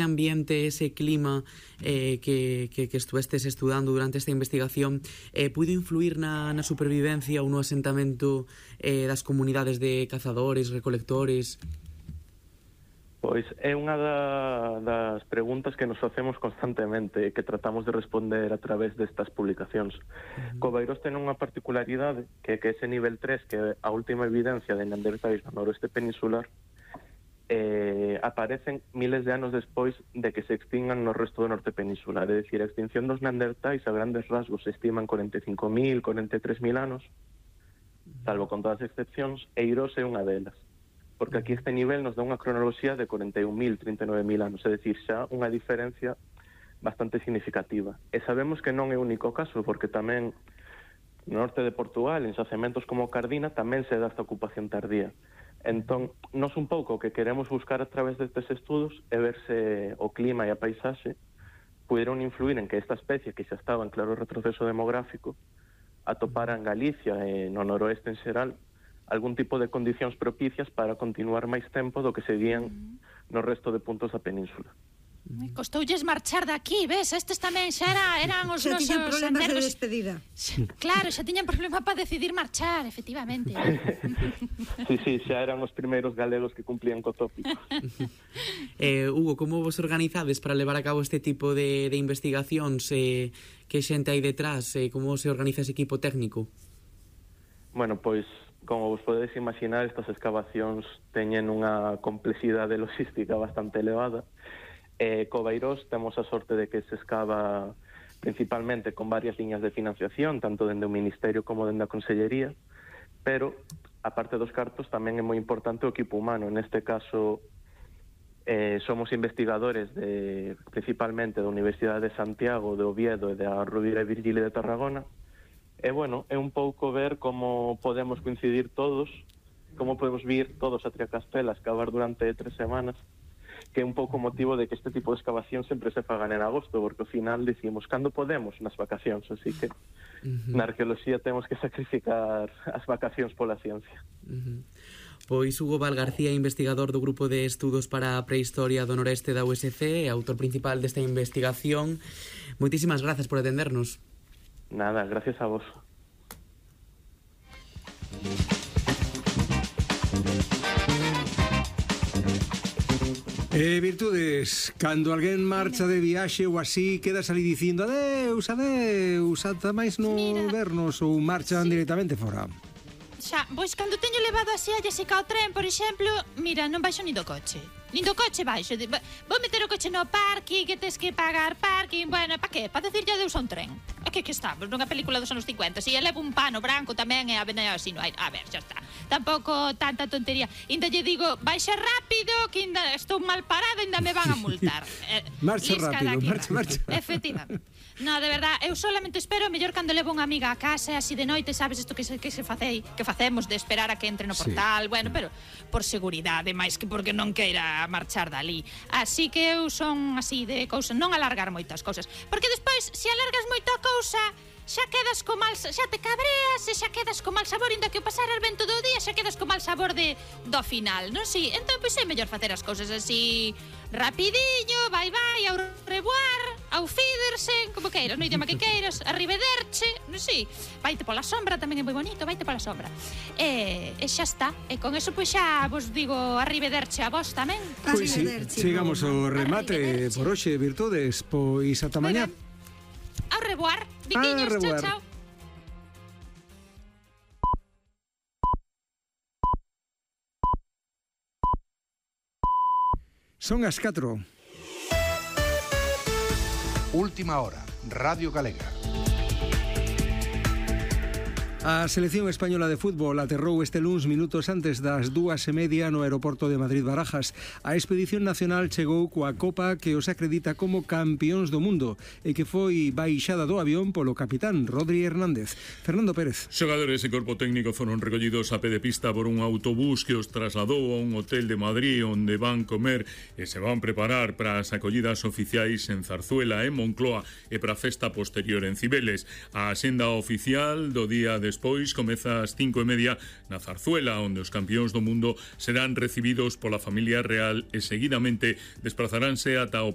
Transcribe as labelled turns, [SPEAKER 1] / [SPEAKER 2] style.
[SPEAKER 1] ambiente, ese clima que estuvestes estudando durante esta investigación puido influir na supervivencia ou no asentamento das comunidades de cazadores, recolectores?
[SPEAKER 2] Pois é unha das preguntas que nos facemos constantemente e que tratamos de responder a través destas publicacións. Coveiros ten unha particularidade que ese nivel 3, que é a última evidencia de neandertais no noroeste peninsular, aparecen miles de anos despois de que se extingan no resto do norte peninsular. É dicir, a extinción dos neandertais a grandes rasgos se estiman 45.000, 43.000 anos, salvo con todas as excepcións, e Eirós é unha delas. Porque aquí este nivel nos dá unha cronoloxía de 41.000, 39.000 anos, é dicir, xa unha diferencia bastante significativa. E sabemos que non é o único caso, porque tamén no norte de Portugal, en xacementos como Cardina, tamén se dá esta ocupación tardía. Entón, nos un pouco o que queremos buscar a través destes estudos é ver se o clima e a paisaxe puderon influir en que esta especie, que xa estaba en claro retroceso demográfico, atopara en Galicia e no noroeste en xeral algún tipo de condicións propicias para continuar máis tempo do que seguían no resto de puntos da península.
[SPEAKER 3] Costoulles marchar daqui, ves? Estes tamén xa eran os nosos...
[SPEAKER 4] Xa tiñan problemas de despedida.
[SPEAKER 3] Claro, xa tiñan problemas para decidir marchar, efectivamente.
[SPEAKER 2] Sí, xa eran os primeiros galegos que cumplían co tópico.
[SPEAKER 1] Hugo, como vos organizades para levar a cabo este tipo de investigacións? Que xente hai detrás? Como se organiza ese equipo técnico?
[SPEAKER 2] Bueno, pois, como vos podedes imaginar, estas excavacións teñen unha complexidade logística bastante elevada. Coveiros temos a sorte de que se excava principalmente con varias liñas de financiación, tanto dende o Ministerio como dende a Consellería, pero, a parte dos cartos, tamén é moi importante o equipo humano. Neste caso, somos investigadores principalmente da Universidade de Santiago, de Oviedo e da Rovira e Virgili de Tarragona, e, bueno, é un pouco ver como podemos coincidir todos, como podemos vir todos a Triacastela a excavar durante 3 semanas, que é un pouco motivo de que este tipo de excavación sempre se fagan en agosto, porque ao final decimos cando podemos nas vacacións, así que na arqueoloxía temos que sacrificar as vacacións pola ciencia.
[SPEAKER 1] Pois Hugo Val García, investigador do Grupo de Estudos para a Prehistoria do Noreste da USC, autor principal desta investigación. Moitísimas grazas por atendernos.
[SPEAKER 2] Nada, gracias a vos.
[SPEAKER 5] Virtudes, cando alguén marcha de viaxe ou así, quedas ali dicindo adeus, adeus, ata máis non vernos, ou marchan directamente fora.
[SPEAKER 3] Xa, pois cando teño levado así a Jessica ao tren, por exemplo, mira, non baixo nin do coche. Nin do coche baixo. Vou meter o coche no parking, que tes que pagar parking. Bueno, pa que? Pa decirlle adeus a un tren. A que estamos nunha película dos anos 50. Si levo un pano branco tamén e a venea así no aire. A ver, xa está. Tampouco tanta tontería. Inda lle digo, baixa rápido, que inda estou mal parada, inda me van a multar.
[SPEAKER 5] Marcha rápido, marcha.
[SPEAKER 3] Efectivamente. No, de verdad, eu solamente espero mellor cando levo unha amiga a casa, así de noite, sabes, isto que facemos de esperar a que entre no portal, bueno, pero por seguridade, máis que porque non queira marchar dali. Así que eu son así de cousa, non alargar moitas cousas, porque despois, se alargas moito a cousa, xa quedas co mal, xa te cabreas e xa quedas co mal sabor, inda que o pasaras ben todo o día, xa quedas co mal sabor do final, non? Si, entón, pois é mellor facer as cousas así rapidiño, vai, ao revoir, ao Fidersen, como queiras, no idioma que queiras, arrivederche, non si, vaite pola sombra, tamén é moi bonito, vaite pola sombra. E xa está, e con eso pois xa vos digo arrivederche a vos tamén.
[SPEAKER 5] Pois si, chegamos ao remate por hoxe, Virtudes, pois ata mañá.
[SPEAKER 3] Au revoir, viquiños, chao, chao.
[SPEAKER 5] Son as 4.
[SPEAKER 6] Última hora, Radio Galega.
[SPEAKER 5] A selección española de fútbol aterrou este luns minutos antes das 2:30 no aeroporto de Madrid-Barajas. A expedición nacional chegou coa copa que os acredita como campións do mundo e que foi baixada do avión polo capitán Rodri Hernández. Fernando Pérez.
[SPEAKER 7] Xogadores e corpo técnico foron recollidos a pé de pista por un autobús que os trasladou a un hotel de Madrid onde van comer e se van preparar para as acollidas oficiais en Zarzuela e Moncloa e para a festa posterior en Cibeles. A axenda oficial do día de despois comeza ás 5:30 na Zarzuela, onde os campións do mundo serán recibidos pola familia real e seguidamente desplazaránse ata o